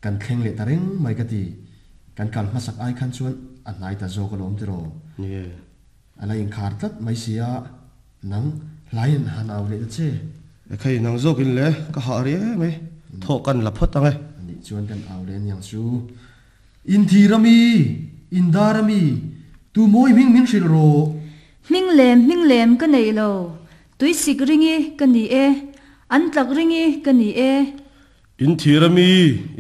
Kan thleng leh ta reng mai ka ti. Kan kal hmasak ai khan chuan a hnai ta zawk alawm tiraw? Nie. A la inkhar tlat mai si a, nang hlaiin han au leh ta che. Ekhei, nang zawkin le, ka hah riai mai. Thawh kan la phawt ang e. Anih chuan kan au leh aniang chu. Inthir ami? Indar ami? Tu mawi hming min hrilh rawh. Hming lem hming lem ka nei lo. Tuisik ringi ka ni e. An tlak ringi ka ni e. Inthir ami?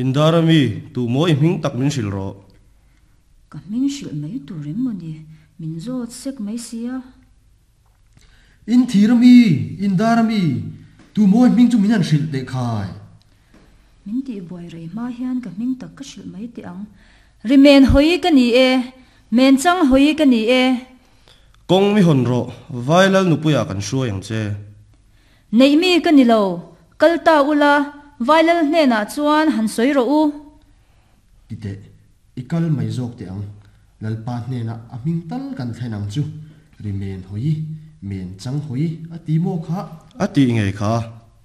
Indar ami? Tu mawi hming tak min hrilh rawh. Ka hming hrilh mai tur em maw ni? Min zawt sek mai sia. In thir ami, in dar ami, tu mawi hming chu min han hrilh teh khai. Min tih buai rei hma hian ka hming tak ka hrilh mai teh ang. Ri men hawi ka ni e, men chang hawi ka ni e. Kawng mi hawn rawh, Vailal nupuiah kan hruai ang che. Neih mi ka ni lo, kal ta ula, Vailal hnenah chuan han sawi rawh u. Ti teh, i kal mai zawk teh ang. Lalpa hnenah a hming tal kan thlen ang chu. Ri men hawi, men chang hawi a ti maw kha? A tih ngei kha,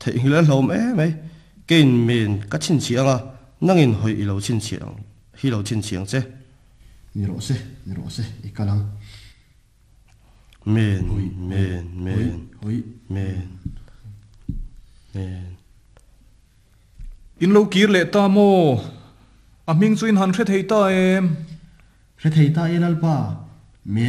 theihnghilh a hlauhawm em mai. Keiin men ka chhinchhiah ang a, nangin hawi i lo chhinchhiah ang, hi lo chhinchhiah ang che. Ni rawh se, ni rawh se, i kal ang. Men, men, men, men, men. In lo kir leh ta maw? A hming chu in han hre thei ta em? Hre thei ta e Lalpa, men.